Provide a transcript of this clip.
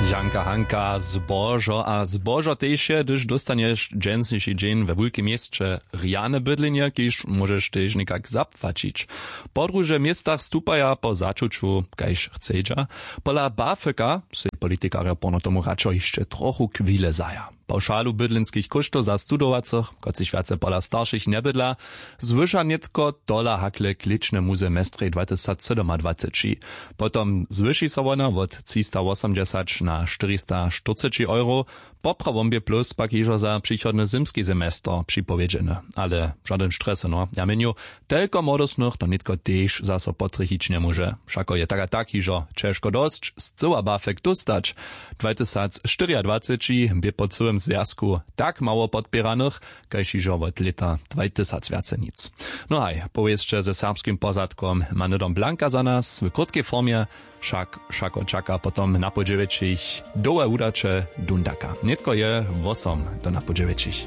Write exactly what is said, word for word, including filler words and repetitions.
Žanka hanka, zbožo a zbožo tež je, hdyž dóstanješ dźensniši dźeń we wulkim měsće rjane bydlenje, kiž móžeš tež někak zapłaćić. Podružo w městach stupaja po začuću kaž chcedźa. Pola bafeka sej politikarjo porno tomu radšo hišće trochu chwile zaja. Pawšalu bydlenskich kóštow za studowacych, kotřiž wjace pola staršich njebydla, zwyša nětko tola hakle klěčne muze mjez drje dwatysacsydomadwaceći. Potom zwyši so wona wot třistawosomdźesać na štyristastyrceći euro. Poprawom bě plus pak hižo za přichodny zymski semester připowědźeny. Ale žadyn štresy no ja měnju, telko młodostnych to nětko tež zaso potrjechić njemóže. Wšako je tak a tak hižo ćežko dosć scyła bafek dóstać. Dwatysacštyriadwaceći bě po cyłym zwjazku tak mało podpěranych, kaž hižo wot lěta dwatysacwjacenic. No haj, powěsće ze serbskim pozadkom ma hnydom blanka za nas w krótkej formje. Wšak wšako čaka potom na podźewjećich dołhe wudaće dundaka nětko je wosom do na podźewjećich.